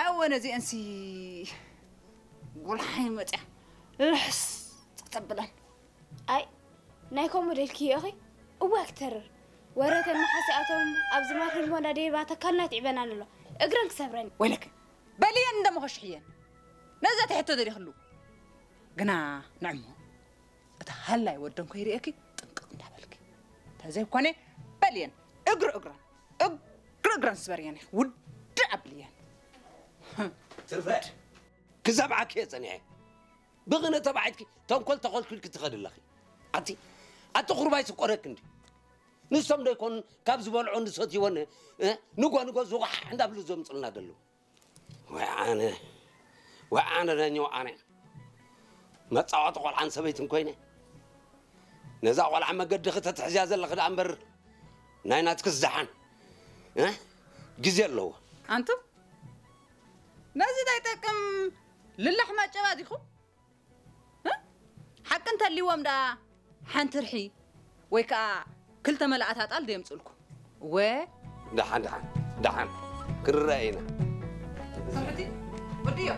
እወ ነዚአንሲ ጉልሓይ መፅያ ልሕስ ተብለን። ኣይ ናይ ከምኡ ደልክዮ ኢኺ። እዋ ክተርር ወረተን መሓሲኣቶም ኣብዚ ማር ህልሞና ደይባ ተካልና ትዕበና ኣሎ። እግረን ክሰብረን። ወይለክ በልየን እንደመኸሽሕየን ነዛ ትሕቶ ደሊኽሉ ግና ንዕሞ እቲ ሃላይ ወደን ኮይርእየኪ ጥንቅቕ እንዳበልኪ ተዘይኮነ በልየን እግሪ እግረን እግሪ እግረን ስበርየን ውድእ ኣብልየን። ትርፈ ክሰምዓኪ እየ ጸኒሐ። ብቕነ ተባዒትኪ ተንኮል ተኾልኪልኪ ትኸዲ ኣለኺ። ኣቲ ኣቲ ቁርባይ ስቆረክ እንዲ ንሶም ዶ ይኮኑ ካብ ዝበልዖ ንሰትይወን ንጎ ንጎ ዝቑሓሕ እንዳብሉ ዘምፅልና ዘለዉ። ወይ ኣነ ወይ ኣነ ነኝ ኣነ መፃወቲ ቆልዓን ሰበይትን ኮይነ ነዛ ቆልዓ መገዲ ክተትሕዝያ ዘለኺ ደኣ እምበር ናይ ናትክስ ደሓን ግዜ ኣለዎ። ኣንቱም ነዚ ዘይጠቅም ልላሕ ማጨባ ዲኹም? ሓቂ እንተልይዎም ደኣ ሓንቲ ርሒ ወይ ከዓ ክልተ መላእት ኣጣል ደየምፅልኩም። ወ ደሓን ደሓን ደሓን ክንረአ ኢና። ሰብሕቲ ወድዮ